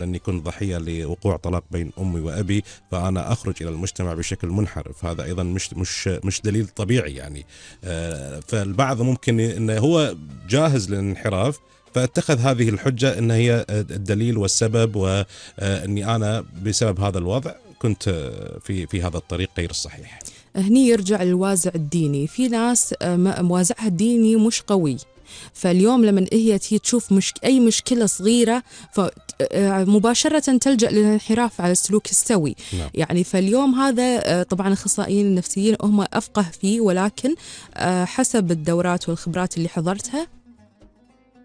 لأني كنت ضحية لوقوع طلاق بين أمي وأبي، فأنا أخرج إلى المجتمع بشكل منحرف. هذا أيضا مش دليل طبيعي يعني. فالبعض ممكن أنه هو جاهز للانحراف، فاتخذ هذه الحجة أن هي الدليل والسبب، وأني أنا بسبب هذا الوضع كنت في هذا الطريق غير الصحيح. هني يرجع الوازع الديني. في ناس وازعها الديني مش قوي، فاليوم لما هي تشوف أي مشكلة صغيرة مباشرة تلجأ للانحراف على السلوك السوي. نعم. يعني فاليوم هذا طبعا الأخصائيين النفسيين هم أفقه فيه، ولكن حسب الدورات والخبرات اللي حضرتها،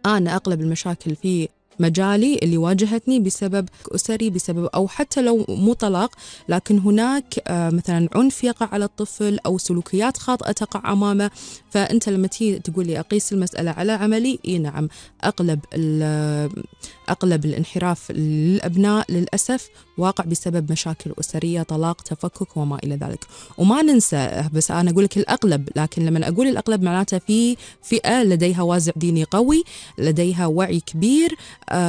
أنا أغلب المشاكل في مجالي اللي واجهتني بسبب أسري، بسبب أو حتى لو مو طلاق، لكن هناك مثلا عنف يقع على الطفل أو سلوكيات خاطئة تقع أمامه. فأنت لما تيجي تقول لي أقيس المسألة على عملي، نعم، أغلب الانحراف للأبناء للأسف واقع بسبب مشاكل أسرية، طلاق، تفكك وما إلى ذلك. وما ننسى، بس أنا أقول لك الأغلب، لكن لما أقول الأغلب معناته في فئة لديها وازع ديني قوي، لديها وعي كبير،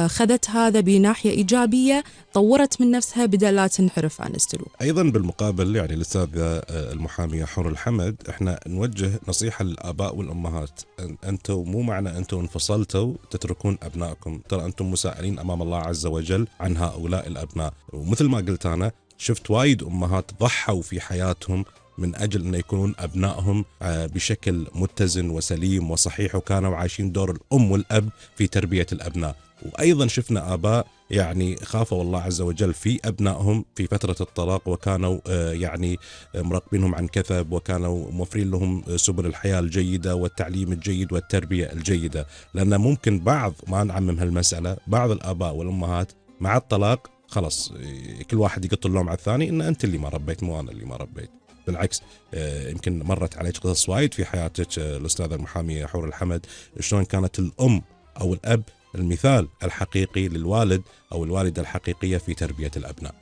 خذت هذا بناحية إيجابية، طورت من نفسها بدل لا تنحرف عن السلوك. أيضا بالمقابل يعني الأستاذة المحامية حور الحمد، إحنا نوجه نصيحة للآباء والأمهات. أنتم مو معنى أنتم انفصلتوا تتركون أبنائكم، ترى أنتم مسائلين أمام الله عز وجل عن هؤلاء الأبناء. ومثل ما قلت أنا شفت وايد أمهات ضحوا في حياتهم من أجل أن يكونون أبنائهم بشكل متزن وسليم وصحيح، وكانوا عايشين دور الأم والأب في تربية الأبناء. وأيضا شفنا آباء يعني خافوا الله عز وجل في أبنائهم في فترة الطلاق، وكانوا يعني مراقبينهم عن كثب، وكانوا موفرين لهم سبل الحياة الجيدة والتعليم الجيد والتربية الجيدة. لأن ممكن بعض، ما نعمم هالمسألة، بعض الآباء والأمهات مع الطلاق خلص كل واحد يقط اللوم على الثاني، إن أنت اللي ما ربيت مو أنا اللي ما ربيت. بالعكس، يمكن مرت عليك قصص وايد في حياتك الأستاذة المحامية حور الحمد، شلون كانت الأم أو الأب المثال الحقيقي للوالد أو الوالدة الحقيقية في تربية الأبناء.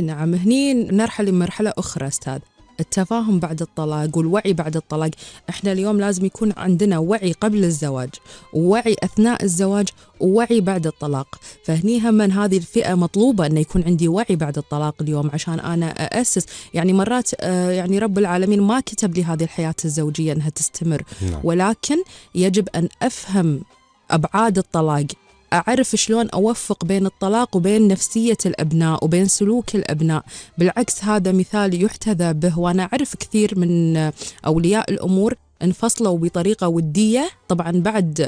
نعم، هني نرحل لمرحلة أخرى أستاذ، التفاهم بعد الطلاق والوعي بعد الطلاق. احنا اليوم لازم يكون عندنا وعي قبل الزواج، ووعي أثناء الزواج، ووعي بعد الطلاق. فهني هم من هذه الفئة مطلوبة أن يكون عندي وعي بعد الطلاق اليوم، عشان أنا أأسس. يعني مرات يعني رب العالمين ما كتب لي هذه الحياة الزوجية أنها تستمر. نعم. ولكن يجب أن أفهم أبعاد الطلاق، أعرف شلون أوفق بين الطلاق وبين نفسية الأبناء وبين سلوك الأبناء. بالعكس هذا مثال يحتذى به، وأنا أعرف كثير من أولياء الأمور انفصلوا بطريقة ودية، طبعا بعد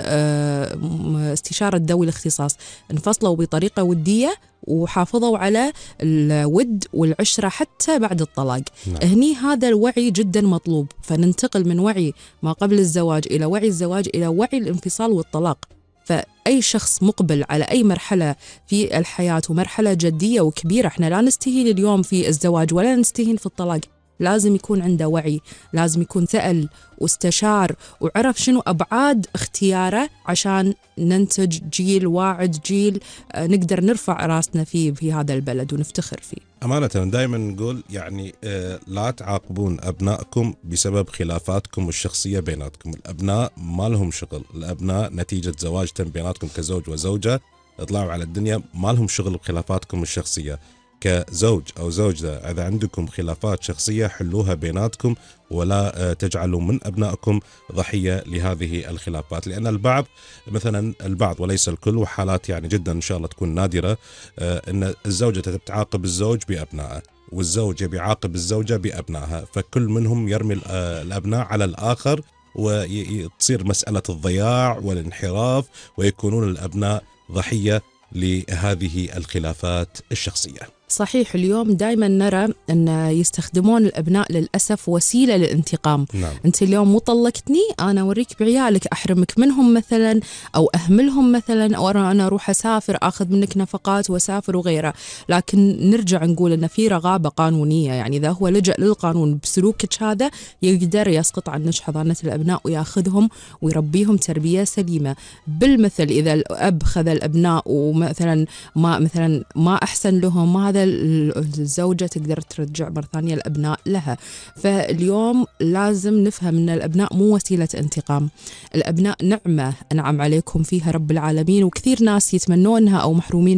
استشارة ذوي الاختصاص، انفصلوا بطريقة ودية وحافظوا على الود والعشرة حتى بعد الطلاق. نعم. هني هذا الوعي جدا مطلوب، فننتقل من وعي ما قبل الزواج إلى وعي الزواج إلى وعي الانفصال والطلاق. فأي شخص مقبل على أي مرحلة في الحياة ومرحلة جدية وكبيرة، احنا لا نستهين اليوم في الزواج ولا نستهين في الطلاق، لازم يكون عنده وعي، لازم يكون سأل واستشار وعرف شنو أبعاد اختياره، عشان ننتج جيل واعد، جيل نقدر نرفع راسنا فيه في هذا البلد ونفتخر فيه. أمانة دائما نقول يعني لا تعاقبون أبنائكم بسبب خلافاتكم الشخصية بيناتكم. الأبناء ما لهم شغل، الأبناء نتيجة زواج تم بيناتكم كزوج وزوجة، اطلعوا على الدنيا، ما لهم شغل بخلافاتكم الشخصية. كزوج أو زوجة إذا عندكم خلافات شخصية حلوها بيناتكم، ولا تجعلوا من أبنائكم ضحية لهذه الخلافات. لأن البعض، مثلا البعض وليس الكل، وحالات يعني جدا إن شاء الله تكون نادرة، أن الزوجة تتعاقب الزوج بأبنائه، والزوج بيعاقب الزوجة بأبنائها، فكل منهم يرمي الأبناء على الآخر، وتصير مسألة الضياع والانحراف، ويكونون الأبناء ضحية لهذه الخلافات الشخصية. صحيح، اليوم دائما نرى أن يستخدمون الأبناء للأسف وسيلة للانتقام. نعم. أنت اليوم مو طلقتني، أنا أوريك بعيالك، أحرمك منهم مثلا، أو أهملهم مثلا، أو أنا أروح أسافر أخذ منك نفقات وأسافر وغيره. لكن نرجع نقول أن في رغابة قانونية، يعني إذا هو لجأ للقانون بسلوكك هذا يقدر يسقط عنك حضانة الأبناء ويأخذهم ويربيهم تربية سليمة. بالمثل إذا الأب خذ الأبناء ومثلا ما أحسن لهم، ما هذا الزوجة تقدر ترجع مرة ثانية الأبناء لها. فاليوم لازم نفهم أن الأبناء مو وسيلة انتقام، الأبناء نعمة أنعم عليكم فيها رب العالمين، وكثير ناس يتمنونها أو محرومين